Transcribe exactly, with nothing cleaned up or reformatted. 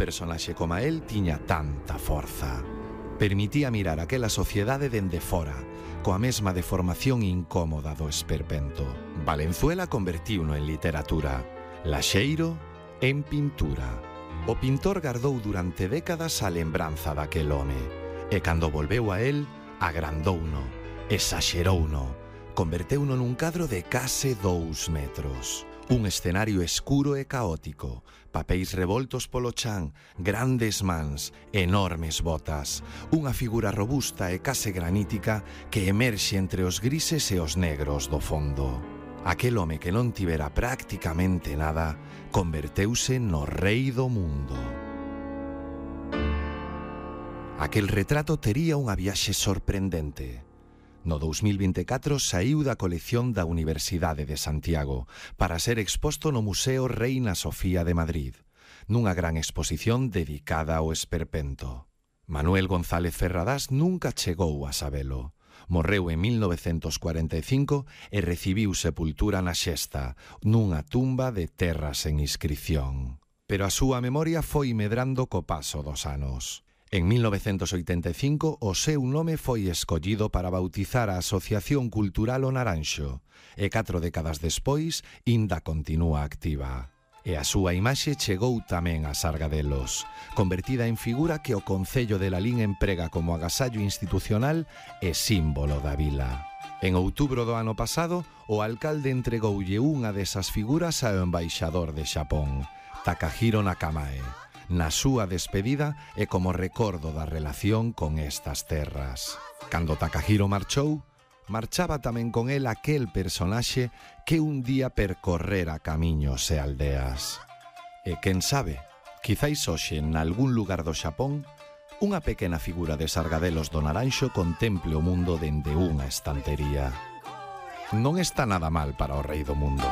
personaxe como el tiña tanta forza. Permitía mirar aquela sociedade dende fora, coa mesma deformación incómoda do esperpento. Valenzuela convertiuno en literatura, Laxeiro en pintura. O pintor gardou durante décadas a lembranza daquel home, e cando volveu a el, agrandouno, exaxerouno, converteuno nun cadro de case dous metros. Un escenario escuro e caótico, papéis revoltos polo chan, grandes mans, enormes botas, unha figura robusta e case granítica que emerxe entre os grises e os negros do fondo. Aquel home que non tivera prácticamente nada converteuse no rei do mundo. Aquel retrato tería unha viaxe sorprendente. No dous mil vinte e catro saíu da colección da Universidade de Santiago para ser exposto no Museo Reina Sofía de Madrid, nunha gran exposición dedicada ao esperpento. Manuel González Ferradás nunca chegou a sabelo. Morreu en mil novecentos cuarenta e cinco e recibiu sepultura na Xesta, nunha tumba de terra sen inscripción. Pero a súa memoria foi medrando co paso dos anos. En mil novecentos oitenta e cinco, o seu nome foi escollido para bautizar a Asociación Cultural O Naranxo, e catro décadas despois, inda continúa activa. E a súa imaxe chegou tamén a Sargadelos, convertida en figura que o Concello de Lalín emprega como agasallo institucional e símbolo da vila. En outubro do ano pasado, o alcalde entregoulle unha desas figuras ao embaixador de Xapón, Takahiro Nakamae, na súa despedida e como recordo da relación con estas terras. Cando Takahiro marchou, marchaba tamén con el aquel personaxe que un día percorrera camiños e aldeas. E quen sabe, quizáis hoxe en algún lugar do Xapón, unha pequena figura de Sargadelos do Naranxo contemple o mundo dende unha estantería. Non está nada mal para o rei do mundo.